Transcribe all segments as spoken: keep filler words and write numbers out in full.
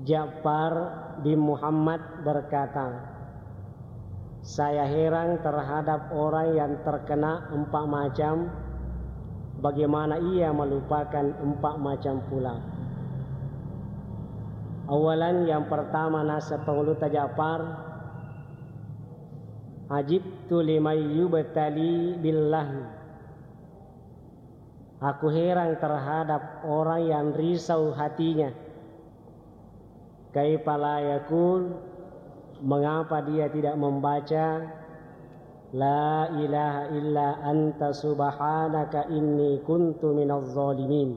Ja'far bin Muhammad berkata, "Saya heran terhadap orang yang terkena empat macam, bagaimana ia melupakan empat macam pula?" Awalan, yang pertama, nasa Pangulutta Ja'far, "Ajibtu liman yubtali billahi." Aku heran terhadap orang yang risau hatinya. Kaifa la yaqul, mengapa dia tidak membaca, "La ilaha illa anta subhanaka inni kuntu minaz zalimin"?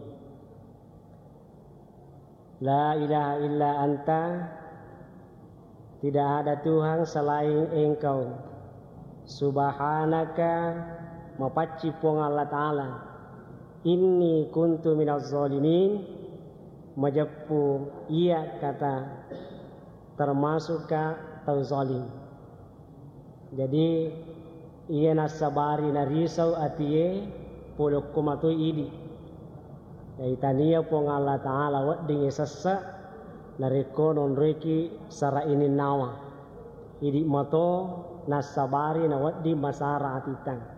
La ilaha illa anta, tidak ada Tuhan selain Engkau. Subhanaka, mapacci Puang Allah Ta'ala. Inni kuntu minaz zalimin, majeppu iya kata termasukka tau zalim. Jadi, iya nassabari narisau atie, pole okko matoi idi. Jadi, tania Puang Allah Ta'ala weddingngi sessa, narekko nonroiki sara ininnawa. Idi mato nassabari nawedding masara atitta.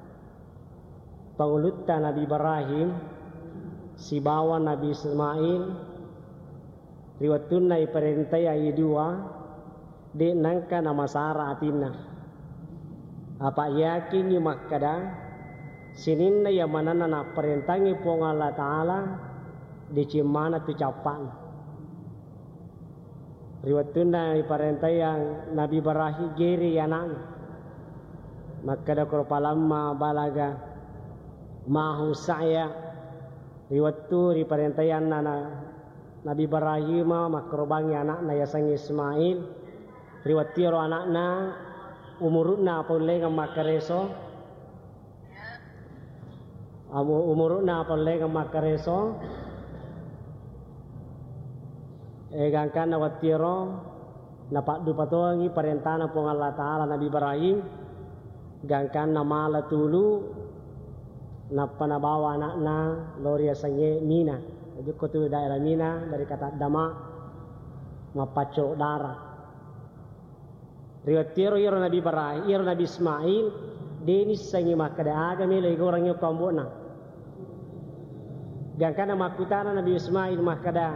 Pangulutta Nabi Ibrahim sibawa Nabi Ismail, ri wettunna iparentai ayi dua, de' nengka namasara atinna. Apa yakingngi makkeda, sininna iya manenna napparentangngi Puang Allah Ta'ala, deceng maneng tu cappa'na. Ri wettunna iparentaiang Nabi Ibrahim, gere ana'na. Makkeda koro, "Falamma balaga ma'ahu sa'ya." Ri wettu riparentaianna na-, Nabi Ibrahim makkarobangngi ana'na yasengnge Ismail. Ri wettu iyaro ana'na umuru'na paullengeng makkareso, Amu-, umuru'na paullengeng makkareso, eh, gangkanna wettuero napaddupa tongengngi parentana Puang Allah Ta'ala Nabi Ibrahim, gangkanna mala tulu, nappa nabawa ana'na lao ri yasengnge Mina. Jokko tu daerah Mina dari kata Dama, mappacco dara. Ri wettuero iyaro Nabi Ibrahim, iyaro Nabi Ismail, de' nissengngi makkeda aga melo igoreng okko ambo'na. Gangkanna makkutana Nabi Ismail makkeda,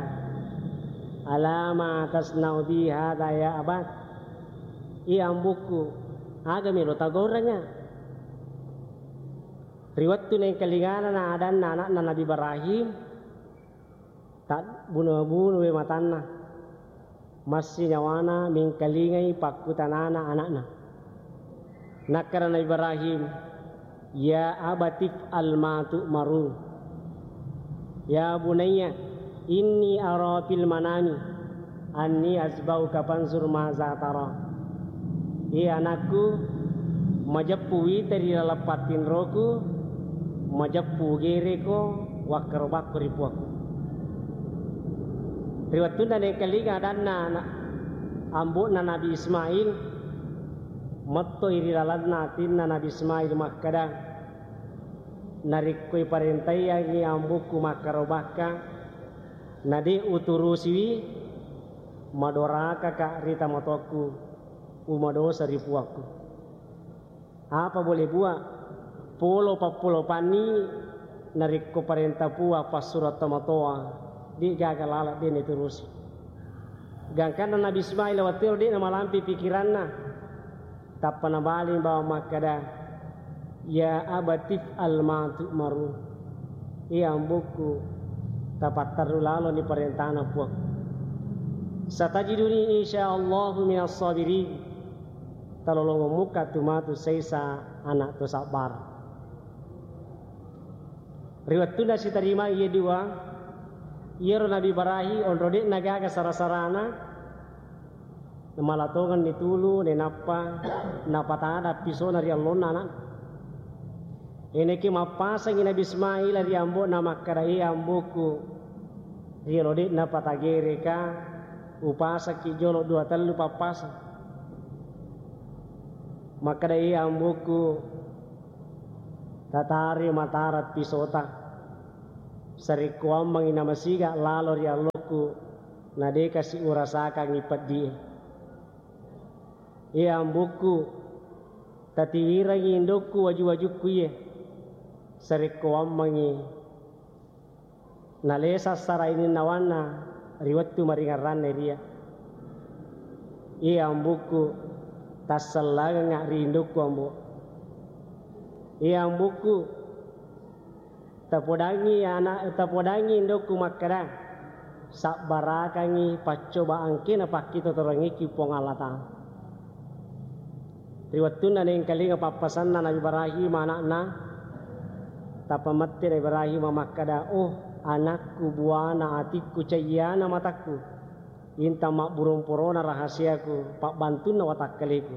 "Ala ma tasna'u bi hadza ya abat?" Iya ambo'ku, aga melo tagorengnga? Ri wettu naengkalingana na adanna ana'na Nabi Ibrahim, tabbuno-buno we matanna. Massi nyawana mengkalingai pakkutanana ana'na. Nakkeda Nabi Ibrahim, "Ya abatif al ma tu'maru. Ya bunayya, inni ara fil manami anni azbauka fanzur maza tara." Iya anakku, majeppu wita ri laleng pattinroku, majeppu gereko wakkarobakko ri puakku. Ri wettunna naengkalinga adanna na-, ambo'na Nabi Ismail, mettoi ri lalenna atinna Nabi Ismail makkeda, "Narekko iparentaiangngi ambo'ku makkarobakka, na de' uturusiwi, madorakaka ri tomatoakku, umadosa ri puakku." Apa boleh buat? Polo pappolo panni narekko parenta Puang passuro tomatoa, de' gaga laleng de' naturusi. Gangkanna Nabi Ismail wettuero de' namalampe pikiranna. Tappa nabaling bawang makkeda, "Ya abatif al ma tu'maru." Iya ambo'ku, tapatterru laloni parentana Puang. "Satajiduni insyaallahu minas sabirin." Talolongeng mukka tu matu saisa ana' to sabbara. Ri wettunna sitarimai iye dua, iyaro Nabi Ibrahim onro de'na gaga sara-sarana, namala tongenni tulu, nainappa napatada pisona ri allonna ana'. Eneki mappasangi Nabi Ismail ri ambo'na makkeda, "E ambo'ku, riolo de'na patagereka, upasakki jolo dua tellu pappasang." Makkeda, "E ambo'ku, tatari matara pisota, sarekkoammengi namasiga lalo ri allokku, Na de kasi urasakangngi peddi e. Iya ambukku, tatiwirangngi indokku waju-wajukku iye. Sarekko wammengngi nalesa sara ininnawanna ri wettu maringerranna ria. Iya ambukku, tassellangengnga ri indokku, ambo. Iya ambukku, tapodangngi ana-, tapodangngi indokku makkeda, sabbarakangngi paccobaangke napakkitotorengngikki Puang Allah Ta'ala. Ri wettunna naengkalinga pappasanna Nabi Ibrahim ana'na, tapamette Nabi Ibrahim makkeda, "Oh, anakku, buana atikku, cayyana matakku. Intang mabburung porona rahasiaku, pabbantunna watakkaleku.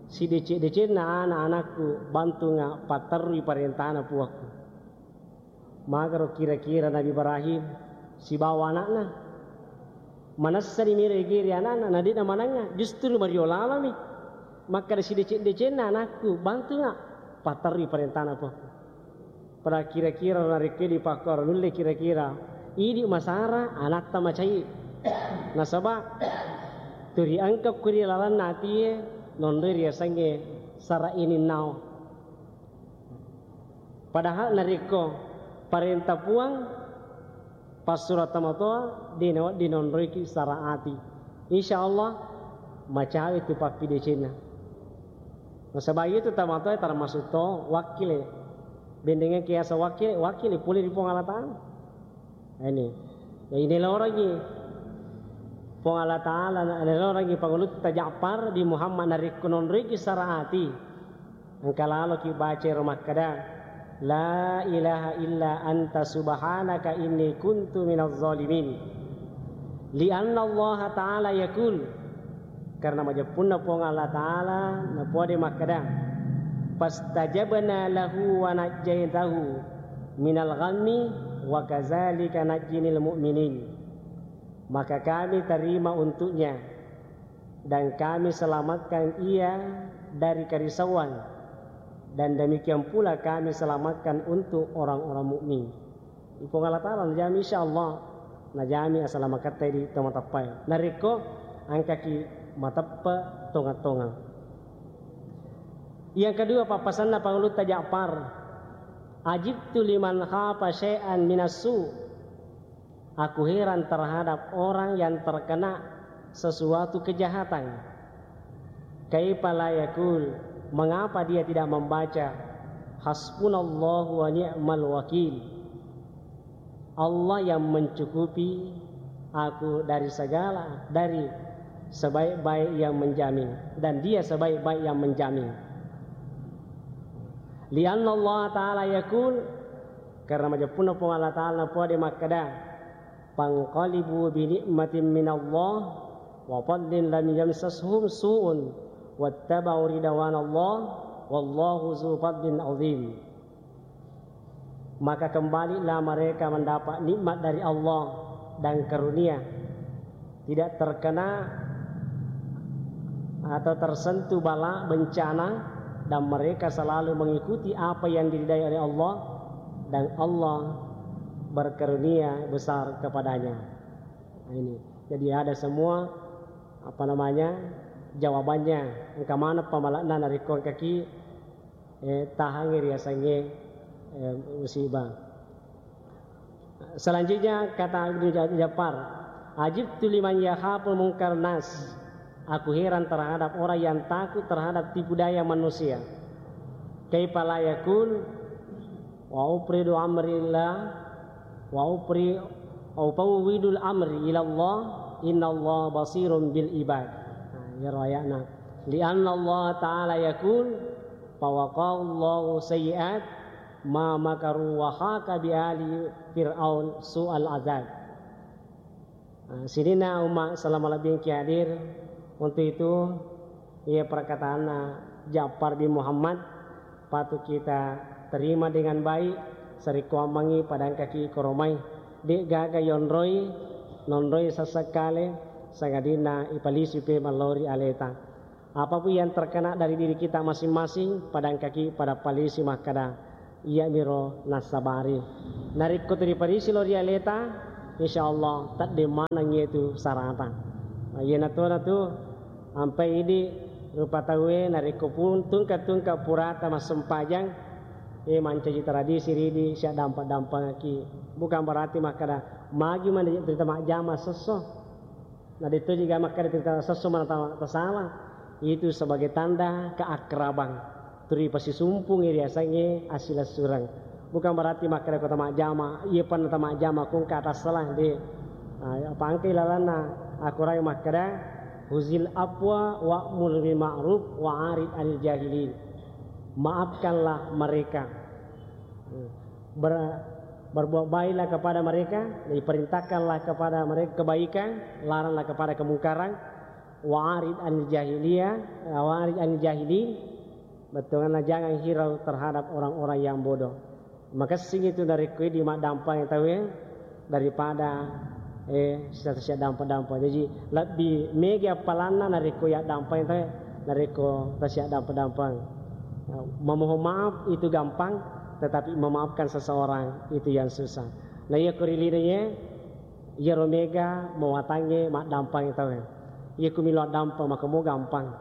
Sideceng-decenna ana-anakku, bantunga patterrui parentana puakku." Magaro kira-kira Nabi Ibrahim sibawa ana'na? Manessani miro ege ri ana'na, na de'na manengnga, justru mario lalami. Makkeda, "Sideceng-decenna anakku, bantunga patterrui parentana puakku." Pada kira-kira narekko dipakkoro nulle kira-kira, idi masara anatta macai. Nasaba turi engka kuri lalanna atie nonroi riasengnge sara ininnao. Padahal narekko parenta Puang, passuro tomatoa, de nawedding nonroiki sara ati. Insya Allah, macawe tu pappidecenna. Nasaba iyatu tomatoa termasuk to wakkile. Bendengeng kiasa wakkile, wakkile pole ri Puang Allah Ta'ala. Ini. Ya, ini lorongi Puang Allah Ta'ala, ini lorongi Pangulutta Ja'far di Muhammad narekko nonroiki sara ati. Engka laloki baca ero makkeda, "La ilaha illa anta subhanaka inni kuntu minaz zalimin." Lianna Allah Ta'ala yakul, karena majeppunna Puang Allah Ta'ala, napode makkeda, "Fastajabna lahu wa najjaitahu minal ghammi wa kazalika najjinil mu'minin." Maka kami terima untuknya dan kami selamatkan ia dari kerisauan, dan demikian pula kami selamatkan untuk orang-orang mukmin. Ipong Allah Ta'ala najami, insya Allah, najami asalamaketta di temateppai. Narekko engkaki mateppe tonga-tonga. Yang kedua, pappasanna Pangulutta Ja'far, "Ajibtu liman khafa syai'an minassu." Aku heran terhadap orang yang terkena sesuatu kejahatan. Kaifa la yakul, mengapa dia tidak membaca, "Hasbunallahu wa ni'mal wakil"? Allah yang mencukupi aku dari segala, dari sebaik-baik yang menjamin, dan Dia sebaik-baik yang menjamin. Lianna Allah Ta'ala yakul, karena majeppunna Puang Allah Ta'ala napode makkeda, "Fanqalibu bi ni'matin minallah wa fadlin lam yamsashum su'un wattaba'u ridwanallah wallahu zu fadlin azim." Maka kembalilah mereka mendapat nikmat dari Allah dan karunia, tidak terkena atau tersentuh bala bencana, dan mereka selalu mengikuti apa yang diridai oleh Allah, dan Allah berkarunia besar kepadanya. Nah, ini. Jadi ada semua, apa namanya, jawabannya. Engka maneng pamalakna narekko engkaki, eh, tahangi riasengnge, eh, musibah. Selanjutnya kata Ibnu Ja-, Ja'far, "Ajibtu liman yakhaful munkar nas." Aku heran terhadap orang yang takut terhadap tipu daya manusia. Kaifa la yakul, "Wa upridu amrillah, wa upri, wa ufawwidul amri ilallah, innallaha basirun bil ibad." Nah, iyaro ayatna. Lianna Allah Ta'ala yakul, "Fawaqallahu sayyi'at ma makaru wa haqa bi ali Fir'aun su'al azab." Nah, sininna umma selama lebih ki hadir. Untuk itu, iya perkataanna Ja'far bin Muhammad patut kita terima dengan baik. Sarekkuammengngi padangkaki koromai, de gaga yonroi, nonroi sessekkale, sangadinna ipalisu pe mallori aleta. Apapun yang terkena dari diri kita masing-masing, padangkaki pada palisi makkada, "Iyamiro nassabari." Narekko tu riparisi lao ri aleta, Insya Allah, teddeng maneng itu sarata. Nah, iyana tona tu, ampai idi rupa tauwe, narekko pun tungka-tungka purata massempajang, eh, mancaji tradisi ridi, siaddampa-dampangaki. Bukan berarti makkada, magi mana cerita majjama sesso. Nah, itu juga makkada cerita sesso mana ta-, tasala. Itu sebagai tanda keakraban. Turi pasisumpungngi riasengnge asilessureng. Bukan berarti makkeda ko tamajjama, iya panna tamajjama ko engka atassalang, de. Ah, apa engka ilalanna Al-Quran makkeda, "Huzil afwa wa'mur bil ma'ruf wa arid anil jahilin." Maafkanlah mereka. Ber-, berbuat baiklah kepada mereka, diperintahkanlah kepada mereka kebaikan, laranglah kepada kemungkaran. Wa arid anil jahiliyah, wa arid anil jahilin. Bettuanna, jangan hirau terhadap orang-orang yang bodoh. Makessing itu narekko idi maddampang tauwe daripada, eh, sisa-sisa dampang-dampang. Jadi lebbi mega appalanna narekko yaddampang tauwe, narekko tasiaddampang-dampang. Memohon maaf itu gampang, tetapi memaafkan seseorang itu yang susah. Nah, iya ko ri linoe, iyaro mega mawatangnge maddampang tauwe. Iya ku melo addampang, maka mo gampang.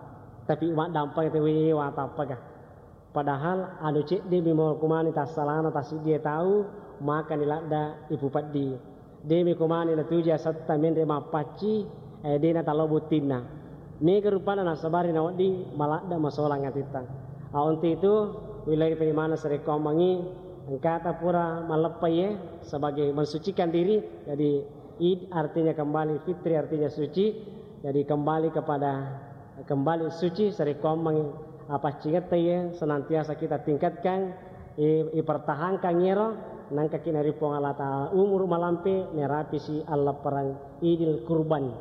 Tapi maddampang tauwe, iya watappaga. Padahal anu cedde mi mo kumani tassalana tasiddie tau, makani ladda ipupeddi. De mi kumani natuju asetta menre mappacci, eh, de natalao buttinna. Mega rupanna nasabari nawedding maladda masolang atitta. Ah, untuk itu, wilai penimana sarekkoammengngi, engkata pura malleppai, eh, sebagai mensucikan diri. Jadi, Id artinya kembali, fitri artinya suci. Jadi, kembali kepada, kembali suci, sarekkoammengngi, appaccingetta iye senantiasa kita tingkatkan, i-, ipertahankan iyaro, nangkaki nari Puang Allah Ta'ala umuru malampe, nerapisi alleppereng Idil Kurban.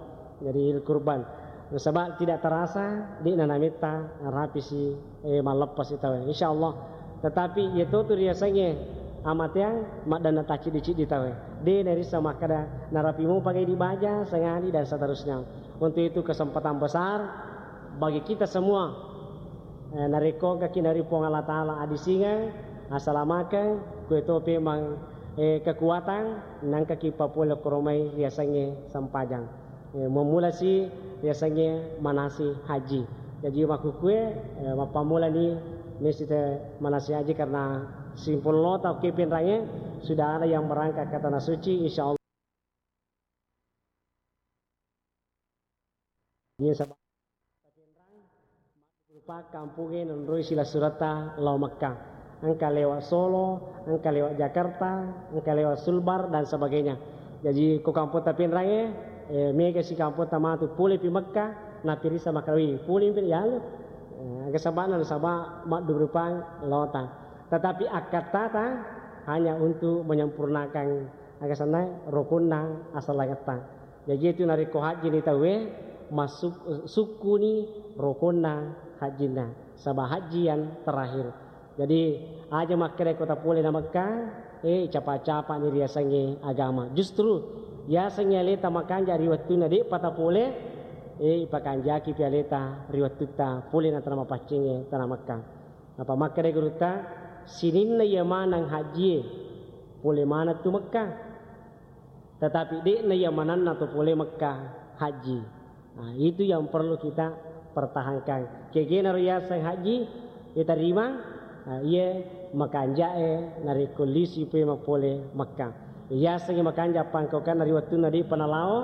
Jadi, Idil Kurban. Nasaba tidak terasa, de'na nametta rapisi, eh, malleppasi tauwe. Insya Allah. Tetapi, iya totu riasengnge amateang, maddanna tacciddi-ciddi tauwe. De' narissa makkeda, narapi mupa idi baja, sengadi, dan seterusnya. Untuk itu kesempatan besar bagi kita semua. Eh, narekko engkaki nari Puang Allah Ta'ala adisingeng, asalamakeng, kue tope mang, eh, kekuatan, nangkaki papole koromai riasengnge sempajang. Eh, memulasi riasengnge manasi haji. Jaji makkukue, eh, mappammulani mesite manasi haji karena simpul lota oke penrange sudah ada yang berangkat ke tanah suci, insya Allah. Iya, sabab rupa kampungnge nonroi silessuretta lao Mekka. Engka lewat Solo, engka lewat Jakarta, engka lewat Sulbar dan sebagainya. Jaji ko kampotta penrange, eh, mega si kampotta matu pole pi Mekka, napirisa makkeda, "Wi, pole pi yalu." Eh, aga sabana nasaba maddubrupang lota. Tetapi akkattata hanya untuk menyempurnakan aga senna rukunna asallangetta. Jaji itu narekko hajjini tauwe, massuk-, sukkuni rokonna hajjinna, saba hajji yang terakhir. Jadi, aja makkeda ko tapole na Mekka, eh, capa-capani riasengnge agama. Justru, yasengnge aleta makanja ri wettunna de'pa tapole, eh, ipakanjaki pi aleta ri wettutta pole na tana mapaccingnge tana Mekka. Apa makkeda gurutta, sininna iya maneng hajjie, pole maneng tu Mekka. Tetapi de'na iya manenna to pole Mekka haji. Nah, itu yang perlu kita pertahankan. Kegena ro yaseng haji diterima, nah, iya makanjae narekko lisi pe mapole Mekka. Yaseng makanja pangkaukanna ri wettunna de'pa nalao,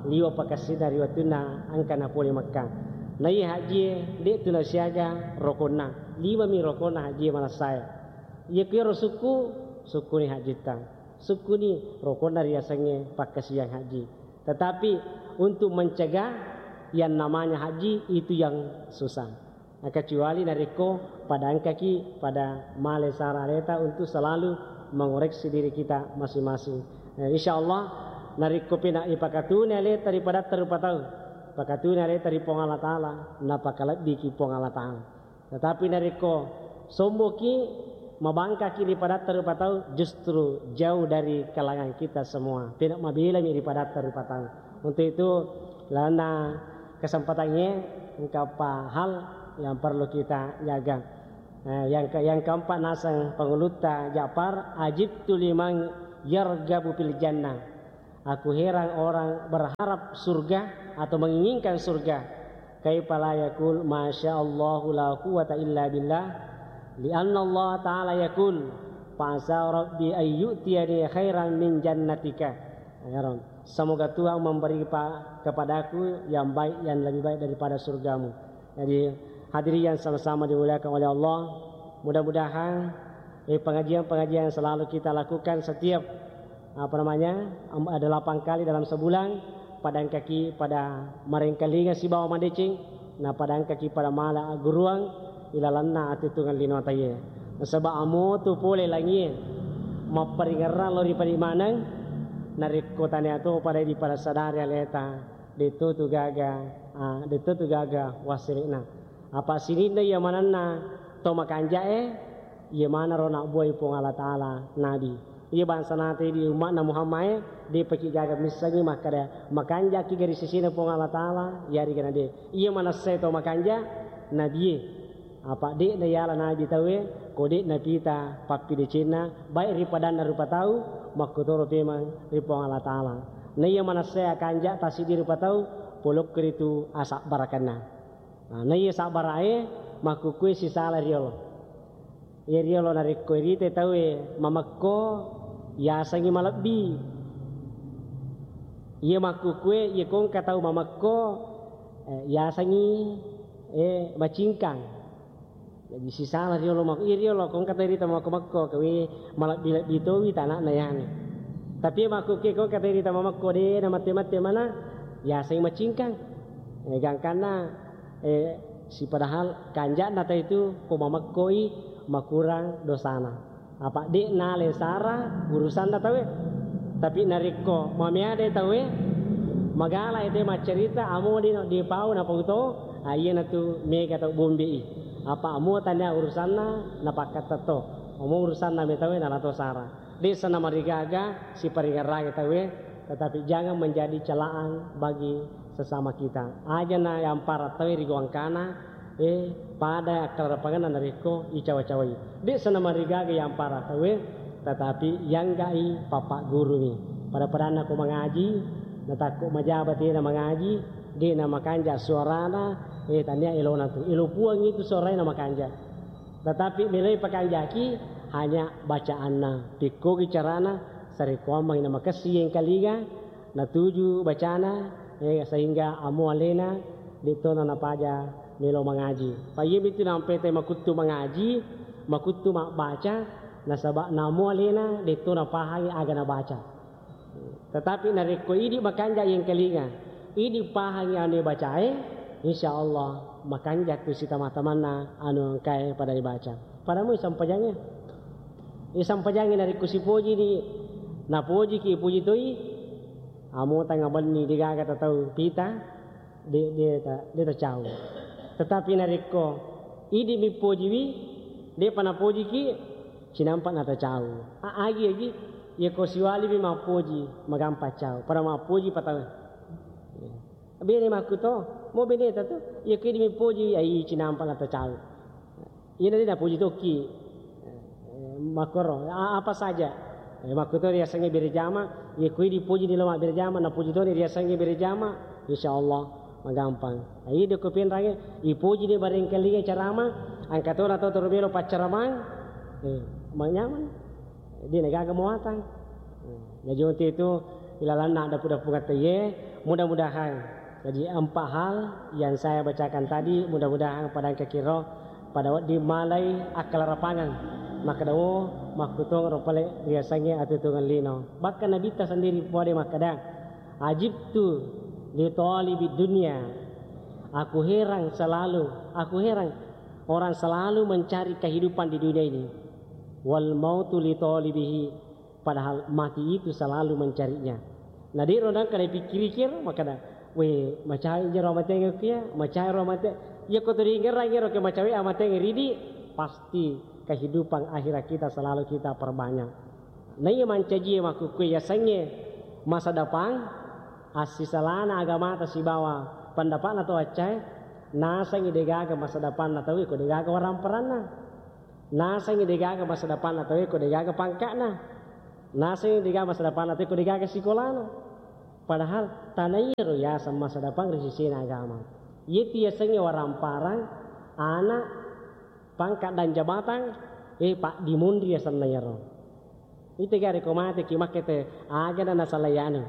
liwa pakassinna ri wettunna engka napole Mekka. Na iya haji de' tu nasiaga rokonna. Lima mi rokonna haji manassae. Iya kuero sukku, sukkuni hajitta. Sukkuni rokonna riasengnge pakkasiang haji. Tetapi untuk mencegah yang namanya haji itu yang susah. Nah, kecuali narekko pada engkaki pada male sara aleta untuk selalu mengoreksi diri kita masing-masing. Nah, insya Allah narekko pena ipakatuni aleta ri padatta rupa tau, pakatuni aleta ri Puang Allah Ta'ala, napakalebbiki Puang Allah Ta'ala. Tetapi narekko somboki, mabangkaki ri padatta rupa tau, justru jauh dari kalangan kita semua. Pena mabelami ri padatta rupa tau. Untuk itu, lalenna kesempatangnge, engka pa hal yang perlu kita jaga. Eh, yang ke-, yang keempat naseng pangulutta Ja'far, "Ajibtu liman yargabu fil jannah." Aku heran orang berharap surga atau menginginkan surga. Kaifa la yaqul, "Masya Allahu la quwwata illa billah." Lianna Allah Ta'ala yaqul, "Fa asa Rabbi an yu'tiyani khairan min jannatika." Ya Rabb, semoga Tuhan memberi pa-, kepadaku yang baik, yang lebih baik daripada surgamu. Jadi, hadirin yang sama-sama dimuliakan oleh Allah, mudah-mudahan, eh, pengajian-pengajian yang selalu kita lakukan setiap, apa namanya, am-, ada delapan kali dalam sebulan, pada engkaki pada marengkalinga sibawa madeceng, na pada engkaki pada mala agguruang ilalanna atutungan lino ataie. Nasaba amo tu pole langie mapparingerrang lao ri padi maneng, narekko tania to pada di pada sadari aleta, de'to tu gaga, ah, de'to tu gaga wassile'na. Apa sininna iya manenna to makanja'e, iya manaro nabbuai Puang Allah Ta'ala nabi. Iya bangsa nate di umma'na Muhammad e, de' paki gaga missengi makkada makanja'ki gari sisina Puang Allah Ta'ala, yarega na de'. Iya manessai to makanja, nabie. Apa de'na yala nabi tauwe, ko de' napita pappidecenna, baik ri padanna rupa tau, makkutoro pemeng ri Puang Allah Ta'ala. Na iya manessai akanja tassiddi rupa tau, polokko ritu asabbarakenna. Nah, na iya sabbarae, makkukkue sisala riolo. Iya riolo narekko irite tauwe mamekko, yasengngi malebbi. Iya makkukkue, iya kongka tau mamekko, eh, yasengngi, eh, macingkang. Jadi sisala riolo mak-, iya riolo kongka tau irita mamekko-mekko, kawe malebbi-lebbi towi tanakna yane. Tapi iya makkukkue kongka tau irita mamekko de' na mette-mette mana, yasengngi macingkang. Eh, gangkanna, eh, si padahal kanja'na tau itu ko mamekkoi makurang dosana. Apa de' nale sara urusanna tauwe. Tapi narekko mameade tauwe, magala ete maccarita, amo de' no dipau napau to, ah, iyanatu mega tau bombe'i. Apa amo tania urusanna napakkattetto. Amo urusanna me tauwe nalato sara. De' sana marigaga siparingerrangi tauwe, tetapi jangan menjadi celaan bagi sesama kita. Aja na yampara tauwe ri gangkana, eh, pada akkalarapangenna narekko icawa-cawai. De' sana marigaga yampara tauwe, tetapi yangga'i papaggurumi. Pada-padanna ko mangaji, natakko majaba tena mangaji, de' na makanja suarana, eh, tania elona tu. Elo Puang itu suarana makanja. Tetapi meloi pakanjaki hanya bacaanna. Pikkogi carana, sarekkoammengi namakessing yengkalinga, natuju bacana, eh, sehingga amo alena de'tona napaja melo mangaji. Pa iyamitu nampai te makuttu mangaji, makuttu mabbaca, nasaba namo alena de'to napahangi aga nabaca. Tetapi narekko idi makanja yengkalinga, idi pahangi anu bacae, insya Allah makanja tu sitama-tamanna anu engkae pada dibaca. Pada mui sampajangnge. Eh, sampajangnge narekko sipoji ni, napojiki, ipoji toi, amo tanga benni degaga tatau pita, de, de, ta, de tacau. Tetapi narekko idi mipojiwi, depa napojiki, cinampa natacau. A, agi, agi, yako siwaliwi mappoji, magampa cau. Pada mappoji patau. Bene makkuto, mo bene tatu, yako idi mipoji, ai cinampa natacau. Iyana de napoji tokki. Eh, makkoro, a, apa saja. Eh, makkuto riasengnge bere jama, yako idi poji ni lo mabbere jama, napoji toni riasengnge bere jama, insya Allah magampang. Ai de ko penrangnge, ipoji ni barengkalinga carama, angka tona to toro melo paccaramang, eh, manyaman. De nagaga muatang. Jaji untuk itu, ilalanna dapu-dapu ngatteye, mudah-mudahan. Jadi empat hal yang saya bacakan tadi, mudah-mudahan pada engka kiro, pada wedding malai akkalarapangang. Makkeda, oh, makkutong ro pale riasengnge atutungan lino. Bahkan Nabitta sendiri pole makkeda, "Ajibtu li talibid dunya." Aku heran selalu, aku heran orang selalu mencari kehidupan di dunia ini. "Wal mautu li talibihi." Padahal mati itu selalu mencarinya. Nah, de ro nangka napikkiriki ero, makkeda, "We, macawe jero amatengnge kuya, macawe ro amate." Iya ko tuli ngerang ero ke macawe amatengnge ridi, pasti kehidupan akhirat kita selalu kita perbanyak. Nah, iya mancaji makkukue yasengnge masa depan, assisalana agamata sibawa pendapatna to accae, nasengngi degaga masa depanna tauwe ko degaga waramparanna. Nasengngi degaga masa depanna tauwe ko degaga pangka'na. Nasengngi degaga masa depanna tauwe ko degaga sikolana. Padahal tana iyaro yaseng masa depan ri sisena agama. Iyetu yasengnge waramparang, ana, pangkat dan jabatan, eh, paddimunri yasenna iyaro. Ite gare ko mate ki makkete, aga na nasalai anu,